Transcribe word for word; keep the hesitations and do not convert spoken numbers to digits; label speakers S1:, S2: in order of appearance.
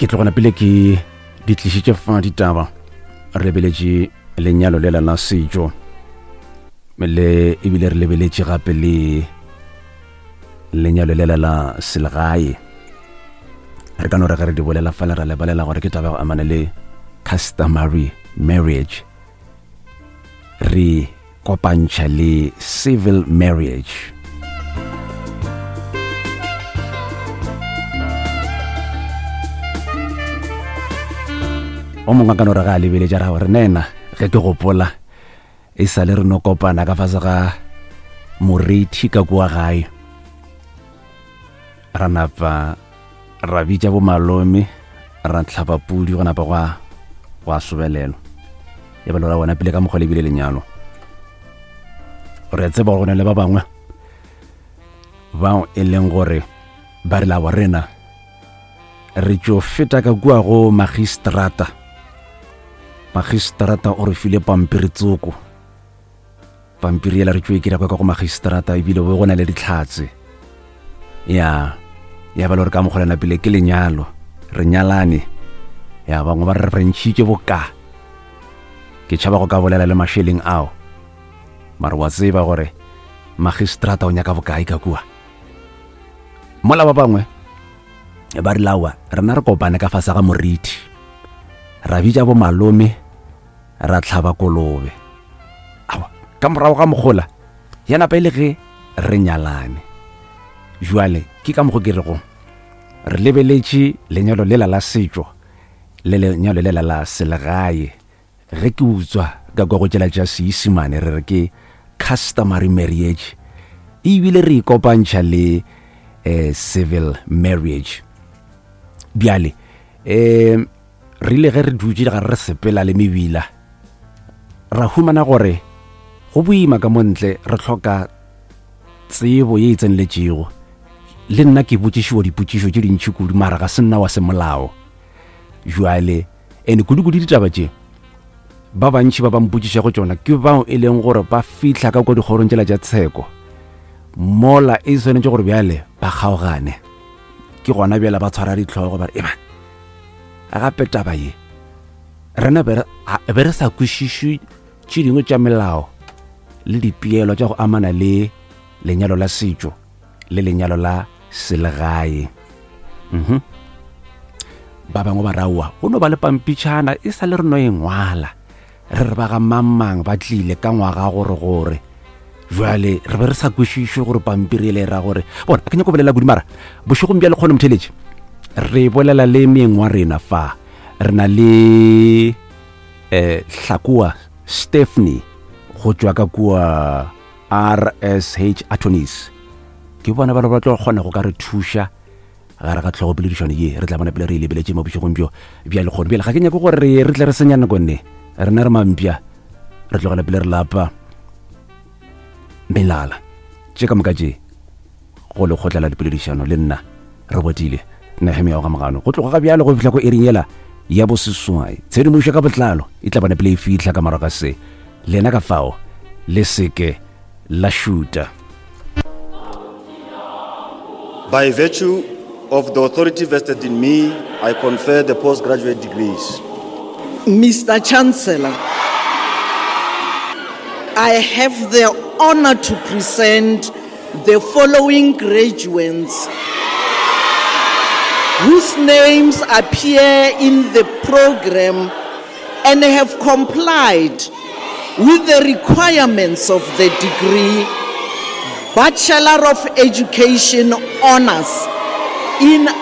S1: Ke tlogona pele ke di tlišitše fa ditaba, re lebeletše lenyalo lela la setšo le ebile re lebeletše gape le lenyalo lela la selegae. Re ka no re ge re di bolela fale ra lebelela gore ke taba ya go amana le customary marriage, re kopantšha le civil marriage. O mongwe a ka no re ga a lebeletša ra gore nena ge ke gopola e sa le re no kopana ka fase ga morithi ka kua gae, ra napa ra bitša bomalome, ra tlhapa pudi go napa gwa gwa sobelelwa. Ya ba le ra bona pele ka mokgwa le bile lenyalo. Re tseba gore go na le ba bangwe bao e leng gore ba re labo rena re tšo feta ka kua go magistrata. Magistrata o re file pampiri tsoko, pampiri yela re tšo e kry-a kwa ka go magistrata, ebile bo go na le ditlhatse. Ya ya ba le gore ka mokgwa lena pele ke lenyalo, re nyalane. Ya bangwe ba re re ntšhitše boka, ke tšhaba go ka bolela le mašeleng ao, mare wa tseba gore magistrata o nyaka bokae ka kua. Mola ba bangwe ba re lawa rena re kopane ka fase ga morithi, ra bitša bomalome, ra tlhaba kolobe. Aowa, ka morago ga mogola ya napa e le ge re nyalane. Jwale ke ka mokgo ke rego re lebeletše lenyalo lela la setšo le lenyalo lela la selegae. Ge ke utswa ka kwa go tšela tša Seisimane re re ke customary marriage, ebile re ikopantšha le eh, civil marriage. Bjale eh re ile ge re dutše ga re sepela le mebila, ra humana gore go boima ka montle, re hloka tsebo ye e tseneletšego. Le nna ke botšišiwa dipotšišo tše dintši kudu, mara ga se nna wa semolao. Jwale ene kudu-kudu ditaba tše ba bantši ba ba mpotšišago tšona ke bao e leng gore ba fihla ka kwa dikgorong tšela tša tsheko, mola e swanetše gore bjale ba kgaogane. Ke gona bjale ba tshwara ditlhogo ba re ema gape taba ye rena be re sa kwešiše tše dingwe tša melao le dipeelo tša go amana le lenyalo la setšo le lenyalo la selegae. Mhm. Ba bangwe ba raowa go no ba le pampitšhana e sa le re no e ngwala, re re ba ga mang-mang ba tlile ka ngwaga gore gore. Jwale re be re sa kwešiše gore pampiri ele e ra gore. Bona ke nyako bolela kudu, mara bošegong bja lekgono motheletše re bolela le meng wa rena fa. Re na le eh Hlakoa Stephanie go tšwa ka kua R S H Attorneys. Ke bona ba ba tlo kgona go ka re thuša gare ga tlhogopoledišano ye re tla bona pele re e lebeletše mo bošegong bjo bja lekgono. Bjale ga ke nyake gore re re tle re senya nako nne, rena re mampša, re tlogela pele re lapa melala tše ka moka tše go lekgotla la dipoledišano. Le nna re botile Nehemia wa Gamogano go tloga ga bjalo go fihla ko ering yela ya boseswai. Tshedimošo ka botlalo e tla bona pele e fihla ka morago ga se. Lena ka fao le seke la šuta.
S2: By virtue of the authority vested in me, I confer the postgraduate degrees.
S3: Mister Chancellor, I have the honor to present the following graduates whose names appear in the program and have complied with the requirements of the degree Bachelor of Education Honors in